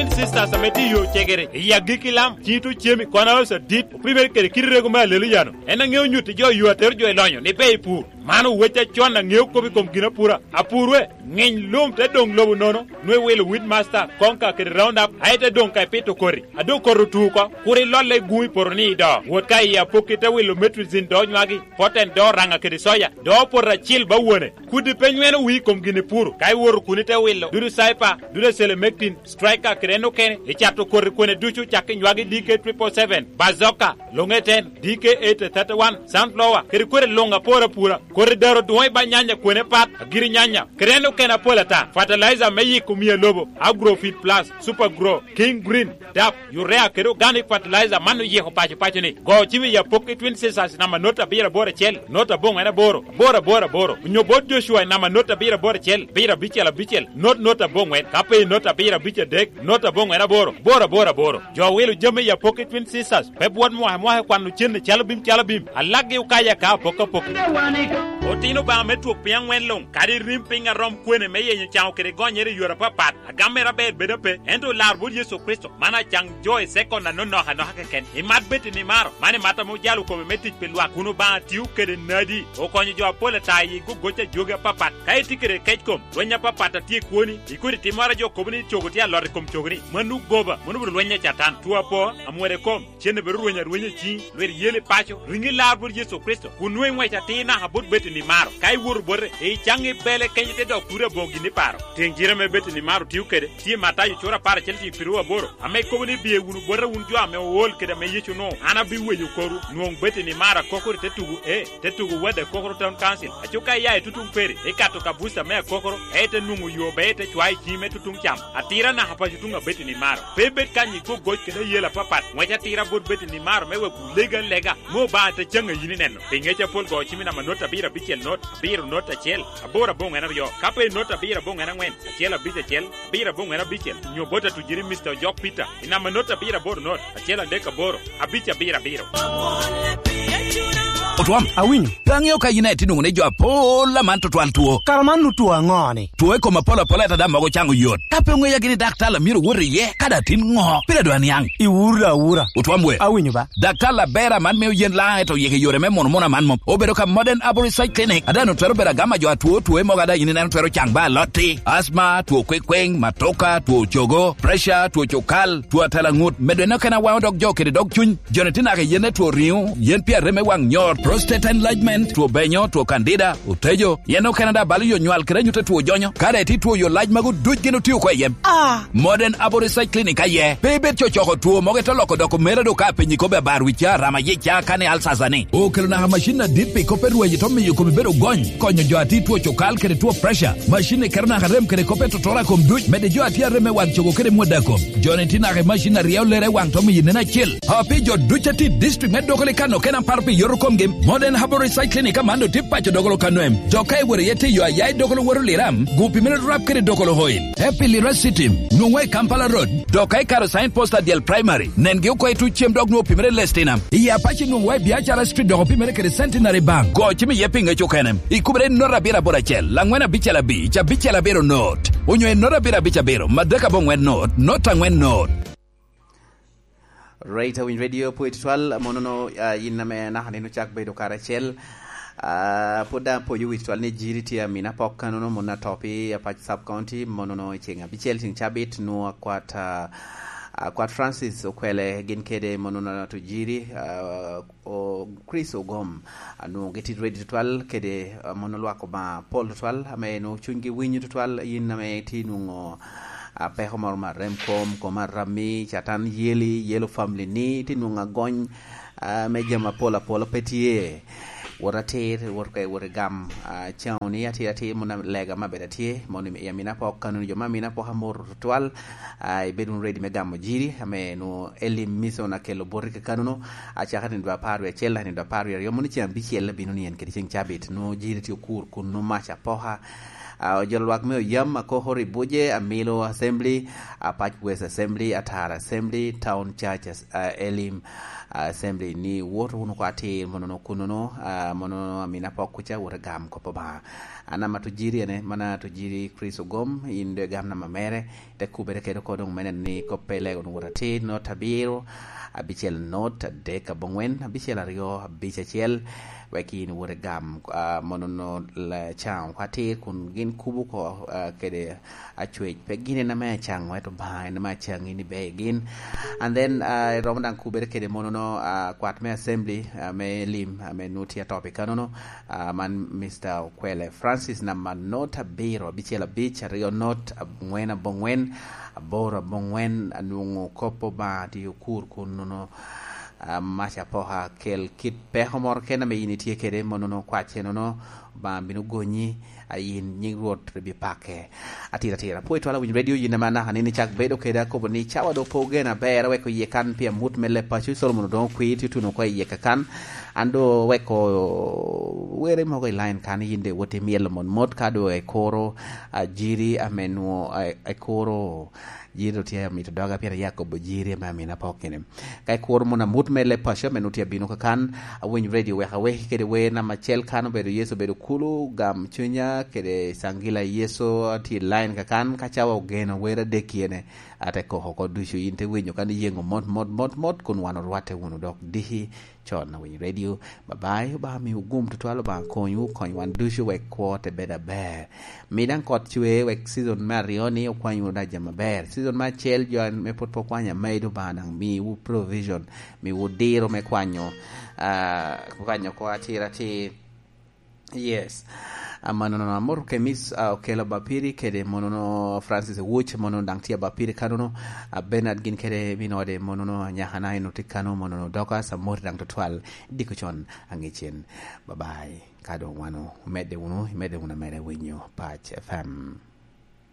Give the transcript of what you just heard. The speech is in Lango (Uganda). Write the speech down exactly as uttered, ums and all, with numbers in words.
Twin Sisters ame tye i yo cegere, i agikki lam, cito cemi, kono oso dit, opimere kede kite rego me Aleluya-nu. En aŋeo nyutti jo yo atero jo i lonyo ni ber i pur. Man owec acon aŋeo kop i kom ginapura. Apurwe, ŋiny lum te doŋ lobo nono, nwe wilo Weedmaster, Konka kede Roundup, aye te doŋ ka ipito koti. A doŋ koti otu oko, kur ilolle i gun i poto ni ido. Wot ka i apokki te wilo Metrizin do nywagi, Poten do Oraŋa kede Soya, do Poten acil ba wone. Kudi pe nyweno wii i kom gin ipuro, ka iwoto kun ite wilo, dudu Cyper, dudu Selemectin, Striker kede en okene, icato koti kwene ducu cak i nywagi D K triple seven, Bazooka, Longeten, D K eight thirty-one, Sunflower, kede kwene luŋ apor apura, koti daro dwoŋ i ba nyanya kwene pat, agiri nyanya, kede en okene apol ata, fertilizer me yiko mia lobo, Agrofit Plus, Super Grow, King Green, dap, urea kede organic fertilizer man oyiko paco paco ni. Go cim i apokki Twin Sisters namba not abiro aboro acel, not aboŋwen aboro, aboro aboro aboro. Onyo bot Joshua i namba not abiro aboro acel, abiro abicel abicel, not not aboŋwen. Ka pe i not abiro abic adek, not aboŋwen aboro, aboro aboro aboro. Jo wilo jami i apokki Twin Sisters, pe bwot mwaka mwaka i kwano cen i calo bim calo bim. Alakgi okayo aka apok apok. Otino Obaŋa me twok piny aŋwen luŋ, kadi irim piny arom kwene me yenyo caŋo kede gonyere i yore apapat. Agam mere aber bedo ape, ento lar bot Yecu Kricito, man acaŋ jo i sekon anonok anoka keken. Imat bed i nimaro, man imat ame ojalo kome me tic pi lwak, kun Obaŋa tio kede nadi, okonyo jo apol ata i gogoc a jogi apapat. Ka itye kede kec kom, lweny apapat a tye i kwoni, ikodi timmoro a jo kobo ni cogo tye alot i kom cogoni, mano goba, mano obedo lweny a Catan. Two apo, amwode kom, cen obedo rweny arwenya i ciŋi, lwit yel i paco, riŋi lar bot Yecu Kricito, kun nwoŋo iŋwec atir naka bot bed i nimaro. Ka iwoto bote, icaŋ i bele kenyo te dok turi aboŋo gin iparo. Teŋ cire ame bed i nimaro tio kede, tye Matayo cura apar acel cik piru aboro, ame kobo ni, "Biye wunu bota wun jo ame ool kede ame Yecu onwoŋo, an abiweyo korwu." Nwoŋo bed i nimaro akokoro i te tugo, ee, te tugo Wade Akokoro Town Council. Aco ka iya i tutuŋ peri, ikato kabuca me Akokoro, aye te nwoŋo yo ber te cwayo i ciŋi me tutuŋ cam. Atira naka paco tuŋ abed i nimaro. Pe ibed kany i gogoc kede ayela apapat. Ŋwec atira bot bed i nimaro me wek wulegi alega, me Obaŋa te caŋ a yin ineno. Pi ŋec apol go cim i namba not abiro abicel not, abiro not acel, aboro aboŋwen aryo. Ka pe i not abiro aboŋwen aŋwen, acel abic acel, abiro aboŋwen abicel, nyo bot atujiri Mister Ojok Peter, i namba not abiro aboro not, acel adek aboro, abic abiro abiro. Otwam, awinyo. Pe aŋeo ka yin aye tye nwoŋo ni jo apol aman tutwal two. Kara man otwo aŋo-ni? Two i kom apol apol ata daŋ mogo caŋo yot. Ka pe oŋeya gini daktar a myero wot iye, kadi atin ŋo? Pire dwa niaŋ. Iwura awura. Otwam we. Awinyo ba. Daktar aber aman mio yen laŋ eto yeke yore me mono mono aman mom. Obedo ka Modern Arborist Clinic. Adan otwero bedo agama jo atwo, two mogo ada yin ineno twero caŋ ba alotti. Asma, two kwekweng, matoka, two cogo, pressure, two cukal, two atalaŋut. Medo en okene awaŋo dog jo kede dog cuny. Joni tye naka i yen me two riŋo, yen pi arem me waŋ nyor, prostate enlargement, two benyo, two candida, otejo, yen okene daŋ balo yo nywal kede anyut a two jonyo. Ka daŋ itye two yo lac magu duc gin otio oko i yem. Ah! Modern Arborist Clinic aye. Pe ibed cocoko two mogo ite loko doko mere do ka apenyi kobbe abar wica, rama yica, kani alsasa ni. Okelo naka macin adit pi kop me rwenyo to miyo komi bedo gony, konyo jo a tye two cokal kede two pressure. Macin ni keto naka rem kede kop me totora kom duc, mede jo a tye arem me waŋ cogo kede mwada kom. Joni tye naka i macin a ryeo lere i waŋ to miyo nen acel. A pi jo duc a tye i district me Dokolo i kano okene apar pi yoto komgi, Modern Herbal Recycling i Kamando tye paco Dokolo kano em. Dok ka iwoto iye te yo aya i Dokolo woto Liram, gupi mere rap kede Dokolo Oil. Happy Lira City, nwoŋwa i Kampala Road. Dok ka ikaro sign post a Dyel Primary, nengi oko i tuc cem dok nwoŋo opimere Lestina. I Apache nwoŋwa i Biacara Street dok opimere kede Centenary Bank. Go cim iye pi ŋec okene. Ikubere i nota abiro aboro acel, angwen abicel abic, abicel abiro not. Onyo i nota abiro abic abiro, madek aboŋwen not, not angwen not. Right, awinyo radio pwod tutwal, monono, ah, in ame naka nino cak bedo karacel. Ah, pwod daŋ apwoyo wi tutwal ni Jiri tye amina pok kanono, mono atop i Apac Sub County, monono i ceng abicel, ceng cabit, nwo akwat, ah, akwat Francis Okwele, gin kede monono Ato Jiri, ah, o Chris Ogom, ah, nwo gitye ready tutwal kede, ah, mono lwak Obaŋa pol tutwal, ame nwo cunygi winyo tutwal, yin ame itye nwoŋo a, peko moro me arem kom, kom arami, Catan yeli, yelo family ni, tye nwoŋo agony, a, me jami apol apol pe tye. Wot atir, wot kwe, wot igam, a, caŋo ni atir atir, mono lega me abedo atye, mono i amina pok, kano ni jo me amina pok amoro tutwal, a, ibed wunu ready me gamo Jiri, ame nwoŋo elim mission akelo boti kekanono, acaka nino dwe apar wie acel, nino dwe apar wie aryo, mono ceŋ abicel abino ni en kede ceŋ cabit, nwoŋo Jiri tye okur kun nwoŋo mac apoka, Ah, ojolo lwak me oyam, Akohori Buje, Amilo Assembly, Apac West Assembly, Atara Assembly, Town Church As-, ah, Elim Assembly, ni wot wunu oko atir monono kunono, ah, monono Amina Pok kuca, wot agam kop Obaŋa. An ama Tujiri ene, mana Tujiri Chris Ogom, in doŋ igam nama mere, te kubere kede oko doŋ mene ni kop pe lego wunu wot atir, not abiro, abicel not adek aboŋwen, abicel aryo abic acel, wek in wot igam, ah, monono la-, caŋ oko atir kun gin kubo oko, ah, kede acwec. Pe gin en ame acaŋ, ento Obaŋa en ame acaŋi ni ber gin. And then, ah, iromo daŋ kubere kede monono, ah, kwat me assembly, ah, me lim, ah, ame nwoŋo tye atop i kanono, ah, man Mister Okwele Francis, namba not abiro, abicel abic, aryo not, angwen aboŋwen, aboro aboŋwen, anwoŋo kop Obaŋa tye okur kun nono, ah, mac apoka, kel kit peko moro kene ame in itye kede, monono kwacce nono, Obaŋa bino gonyi, a yin nyiŋ Rwot ri bi pake. Atir atira, pwod itwala winyo radio, yin ame anaka ni, ni cak bedo kede, akobo ni cawa doŋ pe ogen aber, aweko iye kan pi amut me leb paco, Solomon odoŋo kwir, tye otuno oko iye kakan. An doŋ weko were mogo i line kan, yin doŋ iwot imyelo mot mot, ka doŋ ikuro, ah, jiri ame nwoŋo, ah, ikuro jiri doŋ tye amito doga, pien aye akobo jiri ame Amina Pok kene. Ka ikuro mono amut me leb paco ame nwoŋo tye abino kakan, awiny radio wek aweki kede wer namba acel kan, obedo Yecu obedo kulu, gam cunya, kede Cangila Yecu, atye i line kakan, ka cawa ogeno wer adek kene, ate koko oko ducu, in te winyo kan iyeŋo mot, mot, mot, mot, kun wan orwatte wunu dok diki con. Awiny radio, bye bye, Obaŋa miwu gum tutwal, Obaŋa konywu, kony wan ducu wek kwo te bedo aber. Mi daŋ kot cwe wek season me aryo ni okwany wunu daŋ jami aber. Season me acel jo me pwod pe okwanyo, amedo Obaŋa daŋ miwu provision, miwu diro me kwanyo, ah, kwanyo oko atir atir. Yes. Amanono, amoto Kemis, ah, Okelo Bapiri kede monono Francis Wuc, monono daŋ tye Bapiri kanono, ah, Bernard gin kede min ode, monono anyakana en otye kano, monono Dorcas, amoti daŋ tutwal, diko con aŋicen. Bye bye. Ka doŋ wan omedde wunu, imedde wunu ameda winyo Pac F M.